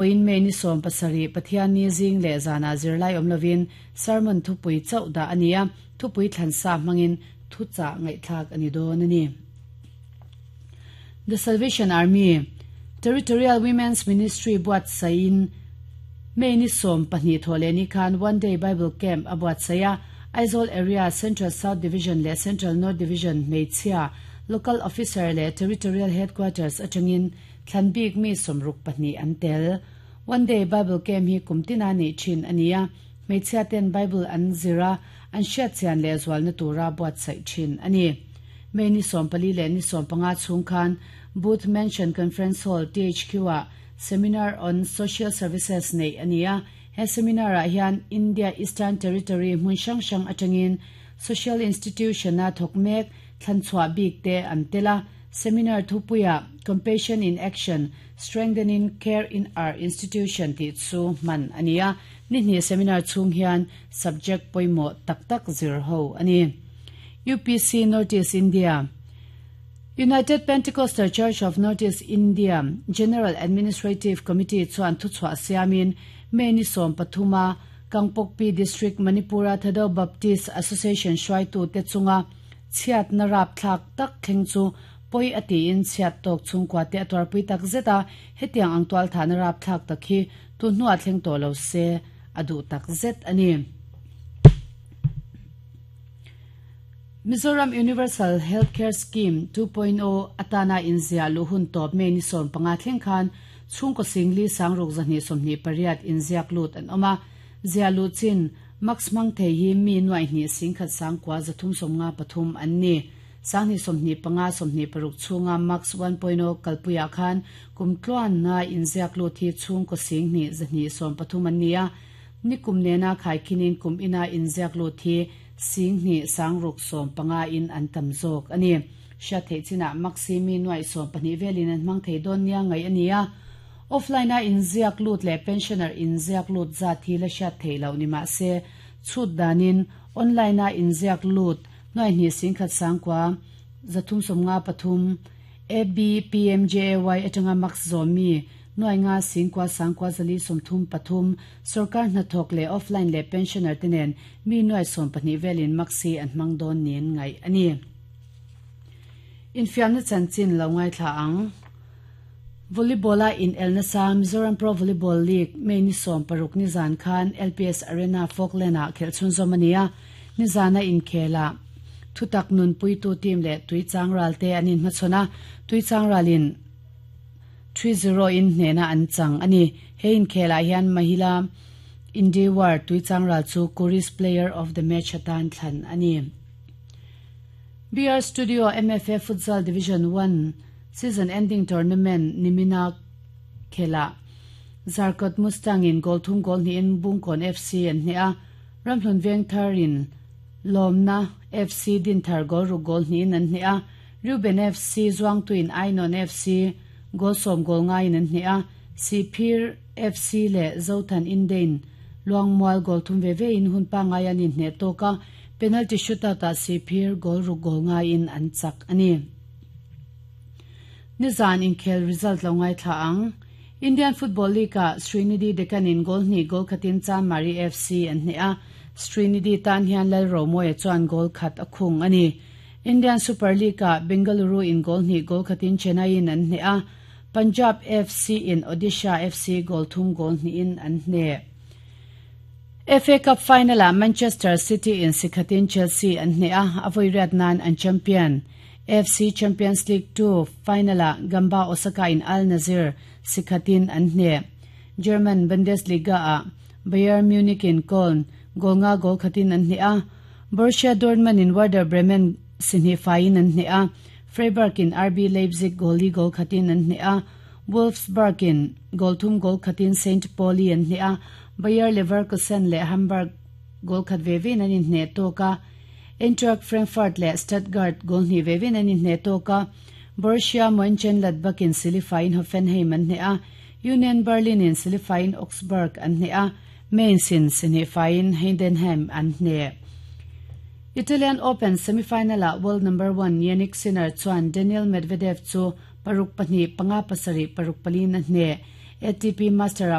Vawiin May ni 17 Pathianni zing leh zanah zirlai awm lovin sermon thupui chauh dah a ni a, thupui thlansa hmangin thuchah ngaihthlak a ni dawn a ni. The Salvation Army, Territorial Women's Ministry buatsaihin May ni 12 thawh leh ni khan One Day Bible Camp a buatsaih a, Aizawl Area, Central South Division leh Central North Division hmeichhia, Local Officer leh Territorial Headquarters atangin Thlan bik mi 62 an tel. One Day Bible Camp hi kum tina neih thin a ni a, hmeichhia ten Bible an zir a, an hriat chian leh zualna tura buatsaih thin a ni. May ni 14 leh ni 15 chhung khan Booth Mansion Conference Hall, THQ-ah Seminar on Social Services neih a ni a, he seminar-ah hian India Eastern Territory hmun hrang hrang atangin Social Institution-a thawk mek thlan chhuah bik te an tel a, Seminar thupuia Compassion in Action, Strengthening Care in Our Institution tih chu hman a ni a, ni hnih seminar chhung hian subject pawimawh tak tak zir ho a ni. UPC North East India, United Pentecostal Church of North East India General Administrative Committee chuan thuchhuah siamin May ni 13 a Kangpokpi District Manipur-a Thado Baptist Association hruaitute chunga Chhiatna rapthlak tak thleng chu pawi a tiin chhiat tawk chhungkua te a tuarpui tak zet a, hetiang ang tualthahna rapthlak tak hi tu hnuah thleng tawh lo se a duh tak zet a ni. Mizoram Universal Health Care Scheme 2.0 atana inziah luh hun tawp May ni 15 thleng khan chhungkaw singli sangruk 228 inziak lut an awm a, ziah luh chin Max hmang thei hi mi nuaih hnih singkhat sangkua 353 an ni. Sanghnih 25 26 chhunga Max 1.0 kalpuiah khan kum tluanna inziak lut hi chhungkaw singhnih 230 an ni a. Ni kum nena khaikhinin kum ina inziak lut hi singhnih sangruk 15 in an tam zawk a ni. Hriat theih chinah Max hi mi nuaih 12 velin an hmang thei dawn nia ngaih a ni a. Offline-a inziak lut leh pensioner inziak lut zat hi la hriat theih loh ni mah se, chhut danin online-a inziak lut nuai hnih singkhat sangkua 353 ABPMJAY atanga max zawmi nuai nga singkua sangkua 433 sorkar hnathawk leh offline leh pensioner te nen mi nuai 12 velin max hi an hmang dawn niin ngaih a ni. Infiamna chanchin lo ngaithla ang. Volleyball-a inel nasa Mizoram Pro Volleyball League May ni 16 nizan khan LPS Arena Falkland-ah khelh chhunzawm a ni a, nizana inkhelah thutak nunpuitu team leh Tuichangral te an inhmachhawn a, Tuichangralin 3-0 in hnehna an chang a ni. He inkhelah hian Mahila Indiwar Tuichangral chu Kuris Player of the Match atan thlan a ni. BR Studio MFA Futsal Division 1 Season ending tournament nimina khelah Zarkawt Mustang in goal thum goal hnihin Bungkawn FC an hneh a, Ramhlun Vengthar in Lawmna FC Dinthar goal ruk goal hnihin an hneh a, Reuben FC Zuangtu in Ainawn FC goal 10 goal ngaiin an hneh a, Sihphir FC leh Zothan Indein Luangmual goal thum ve ve in hun pangngai an inhneh tawk a, penalty shootout ah Sihphir goal ruk goal ngaiin an chak a ni. Nizan inkhel result lo ngaithla ang. Indian Football League-ah Srinidhi Deccan in goal hnih goal khatin Chanmari FC an hneh a, Srinidhi tan hian Lalromoia chuan goal khat a khung a ni. Indian Super League-ah Bengaluru in goal hnih goal khatin Chennai in an hneh a, Punjab FC in Odisha FC goal thum goal hnihin an hneh. FA Cup final-ah Manchester City in sikhatin Chelsea an hneh a, a vawi riat nan an champion. AFC Champions League 2 final-ah Gamba Osaka in Al Nassr sikhatin an hneh. German Bundesliga-ah Bayern Munich in Köln goal nga goal khatin an hneh a, Borussia Dortmund in Werder Bremen sihnih faiin an hneh a, Freiburg in RB Leipzig goal li goal khatin an hneh a, Wolfsburg in goal thum goal khatin St. Pauli an hneh a, Bayer Leverkusen leh Hamburg goal khat ve vein an inhneh tawk a, Eintracht Frankfurt leh Stuttgart goal hnih ve vein an inhneh tawk a, Borussia Mönchengladbach in silifaiin Hoffenheim an hneh a, Union Berlin in silifaiin Augsburg an hneh a, Mainz in sihnih faiin Heidenheim an hneh. Italian Open semi-final-ah world number one Jannik Sinner chuan Daniil Medvedev chu 6-2, 5-7, 6-4 in a hneh. ATP Master-ah.